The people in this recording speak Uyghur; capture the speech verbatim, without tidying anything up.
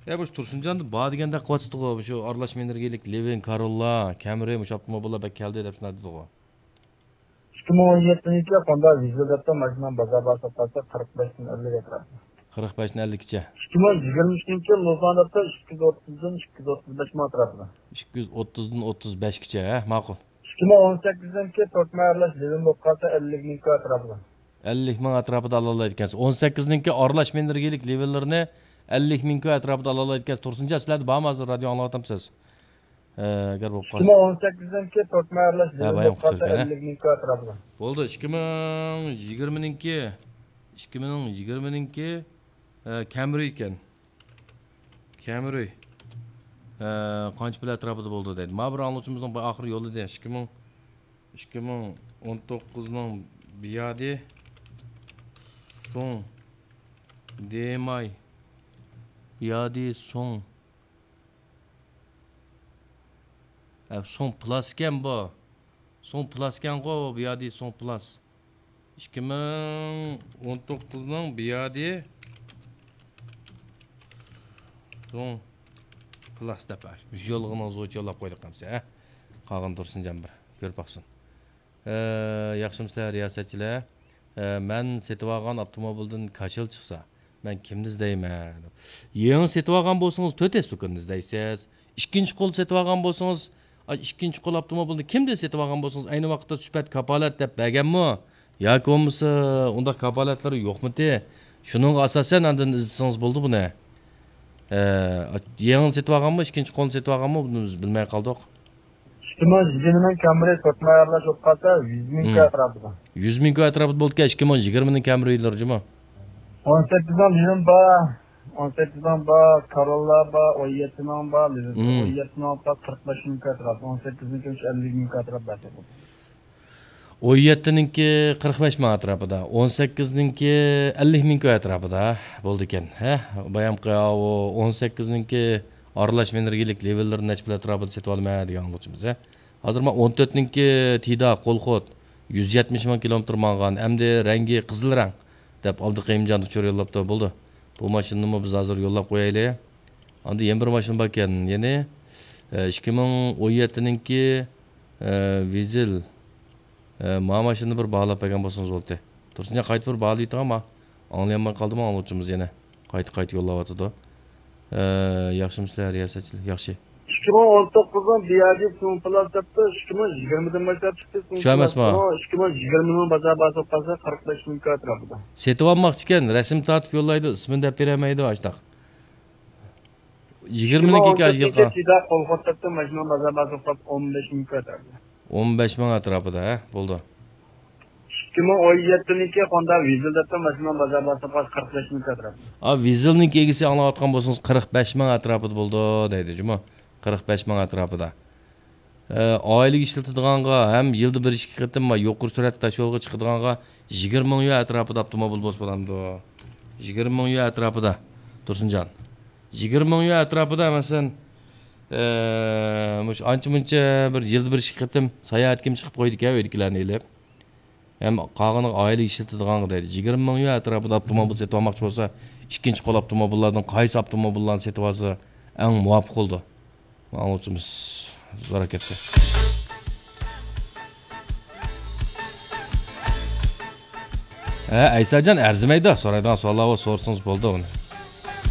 ئە، مۇشۇ تۇرسۇنجان بار دېگەندەك قىلىۋاتىدىغۇ، مۇشۇ ئارىلاش ئېنېرگىيىلىك لىۋىن، كاروللا، كەمرى، مۇشۇ ئاپتوموبىللار بەك كەلدى دەپ شۇنداق دېدىغۇ. ئىككى مىڭ ئون يەتتىنچى يىلى خوندا ۋىزېل دەپتۇ، ماشىنام بازار باھاسى قالسا قىرىق بەشتىن ئەللىك ئەتراپىدا. قىرىق بەشتىن ئەللىككىچە. ئىككى مىڭ يىگىرمە ئۈچىنچى يىلى لوسان دەپتۇ، ئىككى يۈز ئوتتۇزدىن ئىككى يۈز ئوتتۇز بەش مىڭ ئەتراپىدا. ئىككى يۈز ئوتتۇزدىن ئوتتۇز بەشكىچە، ھە، ماقۇل. ئىككى مىڭ ئون سەككىزىنچى يىلى تۆت ماي ئارىلاش لىۋىن بولۇپ قالسا ئەللىك مىڭ كوي ئەتراپىدا. ئەللىك مىڭ ئەتراپىدا ئالالايدىكەنسىز. ئون سەككىزنىڭكى ئارىلاش مېنېرگىيىلىك لىۋىنلىرىنى ئەللىك مىڭ كوي ئەتراپىدا ئالالايدىكەنسىز. تۇرسۇنجان، سىلەردە بارمۇ ھازىر رادىيو ئاڭلاۋاتامسىز؟ ئە، ئەگەر بولۇپ قالسا. ئىككى مىڭ ئون سەككىزنىڭكى تۆت ماي ئارىلاش ھە، لىۋىن بايام بولۇپ قالسا قۇتۇلغان، ھە؟ ئەللىك مىڭ كوي ئەتراپىدا. بولدى، ئىككى مىڭ يىگىرمىنىڭكى، ئىككى مىڭ يىگىرمىنىڭكى، ئە، كەمرى ئىكەن. كەمرى. ئە، قانچە پۇل ئەتراپىدا بولدى دەيدۇ. ما بىر ئاڭلىغۇچىمىزنىڭ بۇ ئاخىرى يوللىدى. ئىككى مىڭ، ئىككى مىڭ ئون توققۇزنىڭ بىيادى سوڭ دېماي. بىيادى سوڭ. ئە، سوڭ پلاس ئىكەن بۇ. سوڭ پلاس ئىكەنغۇ، بۇ يادى سوڭ پلاس. ئىككى مىڭ ئون توققۇزنىڭ بۇ يادى سوڭ پلاس دەپ، مۇشۇ يوللىغىنىڭىزغا يوللاپ قويدۇق ئەمسە، ھە؟ قالغىنى تۇرسۇنجان بىر كۆرۈپ باقسۇن. ئە، ياخشىمۇسىلەر رىياسەتچىلەر؟ ئە، مەن سېتىۋالغان ئاپتوموبىلدىن كاشىل چىقسا، مەن كىمنى ئىزدەيمەن؟ يېڭى سېتىۋالغان بولسىڭىز، تۆت ئېس دۇكىنىنى ئىزدەيسىز. ئىككىنچى قول سېتىۋالغان بولسىڭىز، ئا، ئىككىنچى قول ئاپتوموبىلنى كىمدىن سېتىۋالغان بولسىڭىز، ئەينى ۋاقىتتا سۈپەت كاپالەت دەپ بەرگەنمۇ؟ ياكى بولمىسا ئۇنداق كاپالەتلىرى يوقمىتى؟ شۇنىڭغا ئاساسەن ئاندىن ئىزدىسىڭىز بولىدۇ بۇنى. ئە، يېڭىنى سېتىۋالغانمۇ، ئىككىنچى قولنى سېتىۋالغانمۇ، بۇنى بىز بىلمەي قالدۇق. ئىككى مىڭ يىگىرمىنىڭ كامرى تۆت ماي ئارىلاش بولۇپ قالسا، يۈز مىڭ كوي ئەتراپىدا. يۈز مىڭ كوي ئەتراپىدا بولىدىكەن، ئىككى مىڭ يىگىرمىنىڭ كامرى يىللىرى جۇمۇ. ئون سەككىزنىڭ لىۋىن بار، ئون سەككىزنىڭ بار، كاروللا بار، ئون يەتتىنىڭ بار، لىۋىن. ئون يەتتىنىڭ بار، قىرىق بەش مىڭ كوي ئەتراپىدا، ئون سەككىزنىڭكى ئەللىك مىڭ كوي ئەتراپىدا بار. ئون يەتتىنىڭكى قىرىق بەش مىڭ ئەتراپىدا، ئون سەككىزنىڭكى ئەللىك مىڭ كوي ئەتراپىدا بولىدىكەن، ھە؟ بايامقى ئاۋۇ ئون سەككىزنىڭكى ئارىلاش مېنېرگىيىلىك لېۋېللىرىنى نەچچە پۇل ئەتراپىدا سېتىۋالىمەن دېگەن ئاڭلىغۇچىمىز، ھە؟ ھازىر مانا ئون تۆتنىڭكى تىدا قول خود يۈز يەتمىش مىڭ كىلومېتىر ماڭغان، ئەمدى رەڭگى قىزىل رەڭ دەپ ئابدۇقېيۇمجان ئۇچۇر يوللاپتۇ، بولدى. بۇ ماشىنىنىمۇ بىز ھازىر يوللاپ قويايلى. ئاندىن يەنە بىر ماشىنا باركەن، يەنى، ئە، ئىككى مىڭ ئون يەتتىنىڭكى، ئە، ۋىزېل. ئە، ما ماشىنىنى بىر باھالاپ بەرگەن بولسىڭىز بولدى. تۇرسۇنجان، قايتا بىر باھالاپ ئېيتىڭ، ئاڭلىيالماي قالدىمۇ ئاڭلىغۇچىمىز يەنە. قايتا، قايتا يوللاۋاتىدۇ. ئە، ياخشىمۇسىلەر رىياسەتچىلەر؟ ياخشى. ئىككى مىڭ ئون توققۇزنىڭ بىيادى سوڭ پلاس دەپتۇ، ئىككى مىڭ يىگىرمىدىن باشلاپ چىقتى، سوڭ شۇ ئەمەسمۇ؟ پلاس. ئىككى مىڭ يىگىرمىنىڭ بازار باھاسى قالسا قىرىق بەش مىڭ كوي ئەتراپىدا. سېتىۋالماقچىكەن، رەسىم تارتىپ يوللايدۇ، ئىسمىنى دەپ بېرەلمەيدۇ، ئاشتاق. يىگىرمىنىڭكى ئىككى مىڭ ئون تۆتىنچى يىلقا. تىدا قول خود دەپتۇ، ماشىنىنىڭ بازار باھاسى قالسا ئون بەش مىڭ كوي ئەتراپىدا. ئون بەش مىڭ ئەتراپىدا، ھە، بولدى. ئىككى مىڭ ئون يەتتىنىڭكى خوندا ۋىزېل دەپتۇ، ماشىنىنىڭ بازار باھاسى قالسا قىرىق بەش مىڭ كوي ئەتراپىدا. ئا، ۋىزېلنىڭكى ئىگىسى ئاڭلاۋاتقان بولسىڭىز، قىرىق بەش مىڭ ئەتراپىدا بولدى دەيدۇ جۇمۇ. قىرىق بەش مىڭ ئەتراپىدا. ئە، ئائىلىگە ئىشلىتىدىغانغا ھەم يىلدا بىر ئىككى قېتىم يۇقىرى سۈرئەتتە تاشيولغا چىقىدىغانغا يىگىرمە مىڭ يۈەن ئەتراپىدا ئاپتوموبىل بولسا بولامدۇ؟ يىگىرمە مىڭ يۈەن ئەتراپىدا، تۇرسۇنجان. يىگىرمە مىڭ يۈەن ئەتراپىدا، مەسىلەن، ئە، مۇشۇ ئانچە مۇنچە بىر يىلدا بىر ئىككى قېتىم ساياھەتكىمۇ چىقىپ قويىدىكەن، ئۆيدىكىلەرنى ئېلىپ. ھەم قالغىنىغا ئائىلىگە ئىشلىتىدىغانغا دەيدۇ. يىگىرمە مىڭ يۈەن ئەتراپىدا ئاپتوموبىل سېتىۋالماقچى بولسا، ئىككىنچى قول ئاپتوموبىللاردىن قايسى ئاپتوموبىللارنى سېتىۋالسا ئەڭ مۇۋاپىق بولىدۇ؟ ئاڭلىغۇچىمىز زور ئەكەتتى. ھە، ئەيساجان ئەرزىمەيدۇ، سورايدىغان سوئاللار بار، سورىسىڭىز بولدى ئۇنى.